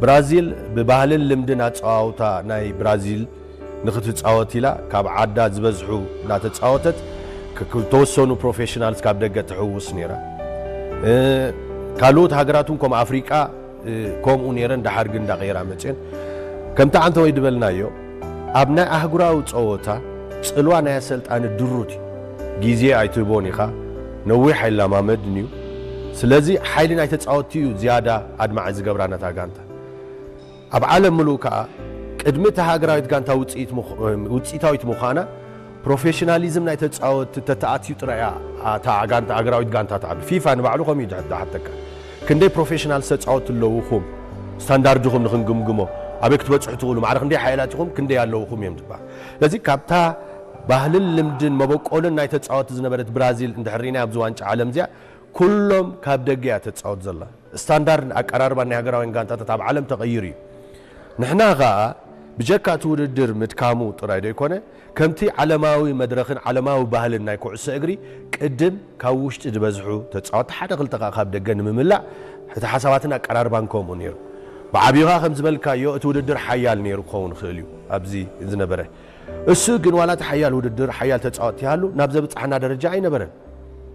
ብራዚል ብባህልን ልምድን ኣጸዋውታ ናይ ብራዚል ንኽትጻወት ኢላ ካብ ዓዳ ዝበዝሑ እናተጻወተት፣ ክ-፣ ክ-፣ ተወሰኑ ፕሮፌሽናልስ ካብ ደገ ትሕውስ ነይራ። እ፣ ካልኦት ሃገራት እውን ከም ኣፍሪቃ፣ እ፣ ከምኡ ነይረን፣ ደሓር ግን እንዳቐየራ መጽየን። ከምቲ ዓንተወይ ድበልናዮ፣ ኣብ ናይ ኣህጉራዊ ጸወታ ጽልዋ ናይ ኣሰልጣኒ ድሩት እዩ። ግዜ ኣይትህቦን ኢኻ፣ ነዊሕ ኣይለማመድን እዩ። ስለዚ ሓይሊ ናይ ተጻወትቲ እዩ ዝያዳ ኣድማዒ ዝገብራ ነታ ጋንታ። ኣብ ዓለም ምሉእ ከኣ ቅድሚ እታ ሃገራዊት ጋንታ ውጽኢት ምዃ-፣ ውጽኢታዊት ምዃና ፕሮፌሽናሊዝም ናይ ተጻወትቲ ተተኣትዩ ጥራይ እያ እታ ጋንታ፣ ሃገራዊት ጋንታ ትዓቢ። ፊፋ ንባዕሉ ከምኡ እዩ ዝሓተካ። ክንደይ ፕሮፌሽናል ተጻወትቲ ኣለውኹም? ስታንዳርድኹም ንኽንግምግሞ፣ ኣበይ ክትበጽሑ ትኽእሉ? ማዕረ ክንደይ ሓያላት ኢኹም? ክንደይ ኣለውኹም እዮም ዝበሃል። ስለዚ ካብታ ባህልን ልምድን መበቆልን ናይ ተጻወትቲ ዝነበረት ብራዚል እንድሕር ርኢና ኣብዚ ዋንጫ ዓለም እዚኣ፣ ኩሎም ካብ ደገ እያ ተጻወት ዘላ። ስታንዳርድ ኣቀራርባ ናይ ሃገራውያን ጋንታታት ኣብ ዓለም ተቐይሩ እዩ። ንሕና ኸኣ ብጀካ እቲ ውድድር ምድካሙ ጥራይ ዶ ይኮነ፣ ከምቲ ዓለማዊ መድረኽን ዓለማዊ ባህልን ናይ ኩዕሶ እግሪ ቅድም ካብ ውሽጢ ዝበዝሑ ተጻወትቲ ሓደ ክልተ ከኣ ካብ ደገ ንምምላእ እቲ ሓሳባትን ኣቀራርባን ከምኡ ነይሩ። ብዓብዩ ኸኣ ከም ዝበልካዮ እቲ ውድድር ሓያል ነይሩ ክኸውን ይኽእል እዩ ኣብዚ ዝነበረ። እሱ ግን ዋላ እቲ ሓያል ውድድር፣ ሓያል ተጻወትቲ ይሃሉ፣ ናብ ዘብጽሓና ደረጃ ኣይነበረን።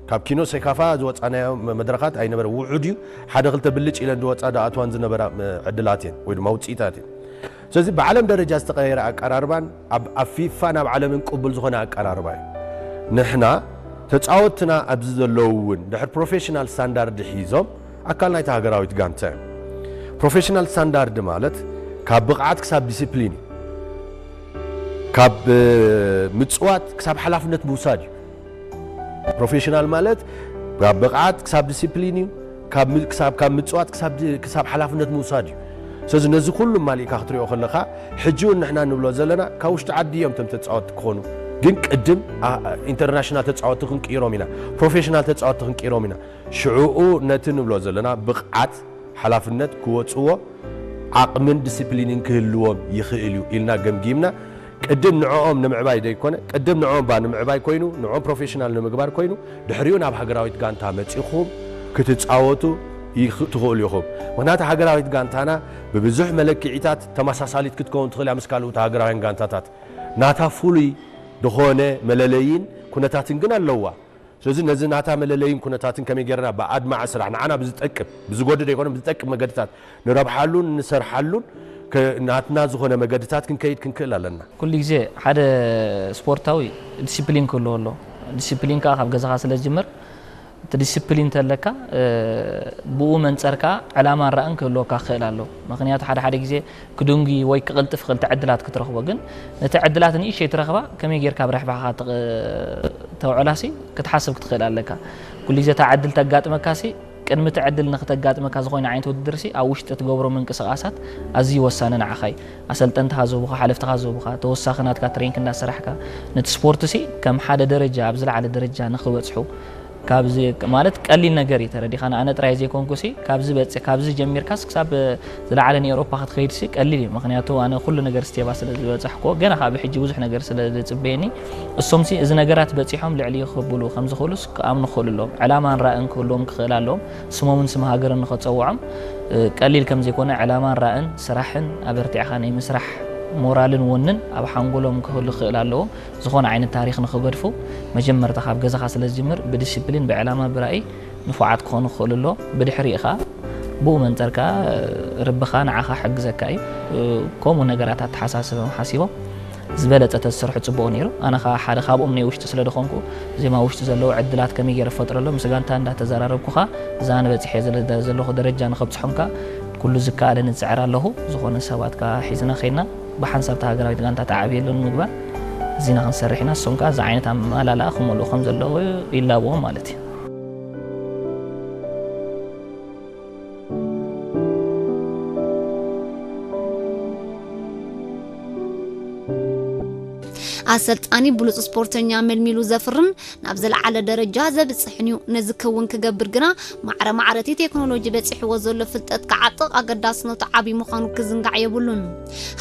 ካብ ኪኖ ሴካፋ ዝወጻናዮ መ-፣ መድረኻት ኣይነበረ። ውሑድ እዩ። ሓደ ክልተ ብልጭ ኢለን ዝወጻ ዝኣትዋን ዝነበራ፣ እ፣ ዕድላት እየን ወይ ድማ ውጽኢታት እየን። ስለዚ ብዓለም ደረጃ ዝተቐየረ ኣቀራርባን ኣብ፣ ኣብ ፊፋን ኣብ ዓለምን ቅቡል ዝኾነ ኣቀራርባ እዩ። ንሕና ተጻወትና ኣብዚ ዘለዉ እውን ድሕሪ ፕሮፌሽናል ስታንዳርድ ሒዞም ኣካል ናይታ ሃገራዊት ጋንታ እዮም። ፕሮፌሽናል ስታንዳርድ ማለት ካብ ብቕዓት ክሳብ ዲሲፕሊን እዩ። ካብ፣ እ፣ ምጽዋት ክሳብ ሓላፍነት ምውሳድ እዩ። ፕሮፌሽናል ማለት ካብ ብቕዓት ክሳብ ዲሲፕሊን እዩ። ካብ ም-፣ ክሳብ፣ ካብ ምጽዋት ክሳብ ዲ-፣ ክሳብ ሓላፍነት ምውሳድ እዩ። ስለዚ ነዚ ኩሉ ማሊእካ ክትሪኦ ከለኻ፣ ሕጂ እውን ንሕና ንብሎ ዘለና ካብ ውሽጢ ዓዲ እዮም እቶም ተጻወትቲ ክኾኑ። ግን ቅድም፣ ኣ-፣ ኣ-፣ ኢንተርናሽናል ተጻወትቲ ክንቅይሮም ኢና፣ ፕሮፌሽናል ተጻወትቲ ክንቅይሮም ኢና። ሽዑኡ ነቲ ንብሎ ዘለና ብቕዓት፣ ሓላፍነት ክወጽዎ ዓቕምን ዲሲፕሊንን ክህልዎም ይኽእል እዩ ኢልና ገምጊምና፣ ቅድም ንዕኦም ንምዕባይ ደይኮነ፣ ቅድም ንዕኦም ባ ንምዕባይ ኮይኑ፣ ንዕኦም ፕሮፌሽናል ንምግባር ኮይኑ፣ ድሕሪኡ ናብ ሃገራዊት ጋንታ መጺኹም ክትጻወቱ ይኽ-፣ ትኽእሉ ኢኹም። ምኽንያቱ ሃገራዊት ጋንታና ብብዙሕ መለክዒታት ተመሳሳሊት ክትከውን ትኽእል እያ ምስ ካልኦት ሃገራውያን ጋንታታት። ናታ ፍሉይ ዝኾነ መለለይን ኩነታትን ግን ኣለዋ። ስለዚ ነዚ ናታ መለለይን ኩነታትን ከመይ ጌርና ብኣድማዒ ስራሕ ንዓና ብዝጠቅም፣ ብዝጎድእ ዘይኮነ ብዝጠቅም መገድታት ንረብሓሉን ንሰርሓሉን ከ-፣ ናትና ዝኾነ መገድታት ክንከይድ ክንክእል ኣለና። ኩሉ ግዜ ሓደ ስፖርታዊ ዲሲፕሊን ክህልዎ ኣለዎ። ዲሲፕሊን ከኣ ካብ ገዛኻ ስለ ዝጅምር፣ እቲ ዲሲፕሊን እንተለካ፣ እ፣ ብኡ መንጸር ከኣ ዕላማን ራእን ክህልወካ ክኽእል ኣለዎ። ምኽንያቱ ሓደ ሓደ ግዜ ክድንጉይ ወይ ክቕልጥፍ ክኽእል እቲ ዕድላት ክትረኽቦ፣ ግን ነቲ ዕድላት ንእሽተይ ትረኽባ ከመይ ጌርካ ኣብ ረብሓኻ ትቕ-፣ ተውዕላሲ ክትሓስብ ክትኽእል ኣለካ። ኩሉ ግዜ እታ ዕድል ተጋጥመካሲ፣ ቅድሚ እቲ ዕድል ንክተጋጥመካ ዝኾነ ዓይነት ውድድርሲ ኣብ ውሽጢ እትገብሮ ምንቅስቓሳት ኣዝዩ ወሳኒ ንዓኻ እዩ። ኣሰልጠንትኻ ዝህቡኻ፣ ሓለፍትኻ ዝህቡኻ፣ ተወሳኺ ናትካ ትሬኒንግ እናሰራሕካ ነቲ ስፖርትሲ ከም ሓደ ደረጃ፣ ኣብ ዝለዓለ ደረጃ ንኽበጽሑ ካብዚ ማለት ቀሊል ነገር እዩ ተረዲኻና። ኣነ ጥራይ ዘይኮንኩሲ ካብዚ በጽ-፣ ካብዚ ጀሚርካስ ክሳብ ዝለዓለ ንኤውሮፓ ክትኸይድሲ ቀሊል እዩ። ምኽንያቱ ኣነ ኩሉ ነገር ስቴባ ስለ ዝበጻሕኩዎ፣ ገና ካብ ሕጂ ብዙሕ ነገር ስለ ዝጽበየኒ፣ እሶምሲ እዚ ነገራት በጺሖም ልዕሊ ክብሉ ከም ዝኽእሉስ ክኣምኑ ክኽእሉ ኣለዎም። ዕላማን ራእን ክህልዎም ክኽእል ኣለዎም። ስሞምን ስም ሃገርን ንኸጸውዖም፣ እ፣ ቀሊል ከም ዘይኮነ ዕላማን ራእን ስራሕን ኣበርቲዕኻ ናይ ምስራሕ ሞራልን ወንን ኣብ ሓንጎሎም ክህሉ ክኽእል ኣለዎ። ዝኾነ ዓይነት ታሪኽ ንኽገድፉ መጀመርታ ካብ ገዛኻ ስለ ዝጅምር ብዲሲፕሊን፣ ብዕላማ፣ ብራእይ ንፉዓት ክኾኑ ክኽእሉ ኣለዎም። ብድሕሪኡ ኸኣ ብኡ መንጸር ከኣ ርብኻ ንዓኻ ክሕግዘካ እዩ። ከምኡ ነገራት ኣተሓሳስቦም ሓሲቦም ዝበለጸ ተዝሰርሑ ጽቡቕ ነይሩ። ኣነ ኸኣ ሓደ ካብኦም ናይ ውሽጢ ስለ ዝኾንኩ፣ ዜማ ውሽጢ ዘለዉ ዕድላት ከመይ ገይረ ክፈጥረሎም ምስ ጋንታ እንዳተዘራረብኩ ኸኣ እዛ ኣነ በጺሐ ዘለ-፣ ዘለኹ ደረጃ ንኸብጽሖም ከኣ ኩሉ ዝከኣለኒ ዝጽዕር ኣለኹ። ዝኾነ ሰባት ከኣ ሒዝና ኸይድና ብሓንሳብ እታ ሃገራዊት ጋንታ ተዓብየሉ ንምግባር እዚና ክንሰርሕ ኢና። እሶም ከኣ እዚ ዓይነት ኣመላልኣ ክመልኡ ከም ዘለዉ ይላበዎም ማለት እዩ። ኣሰልጣኒ ብሉጽ ስፖርተኛ መልሚሉ ዘፍርን ናብ ዝለዓለ ደረጃ ዘብጽሕን እዩ። ነዚ ክውን ክገብር ግና ማዕረ ማዕረ እቲ ቴክኖሎጂ በጺሕዎ ዘሎ ፍልጠት ክዓጥቕ ኣገዳስነቱ ዓቢ ምዃኑ ክዝንጋዕ የብሉን።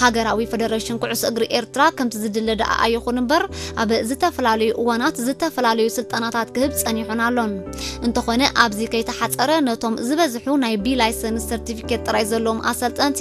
ሃገራዊ ፈደረሽን ኩዕሶ እግሪ ኤርትራ ከምቲ ዝድለ ደኣ ኣይኹን እምበር፣ ኣብ ዝተፈላለዩ እዋናት ዝተፈላለዩ ስልጠናታት ክህብ ጸኒሑን ኣሎን። እንተኾነ፣ ኣብዚ ከይተሓጸረ ነቶም ዝበዝሑ ናይ ቢ ላይሰንስ ሰርቲፊኬት ጥራይ ዘለዎም ኣሰልጠንቲ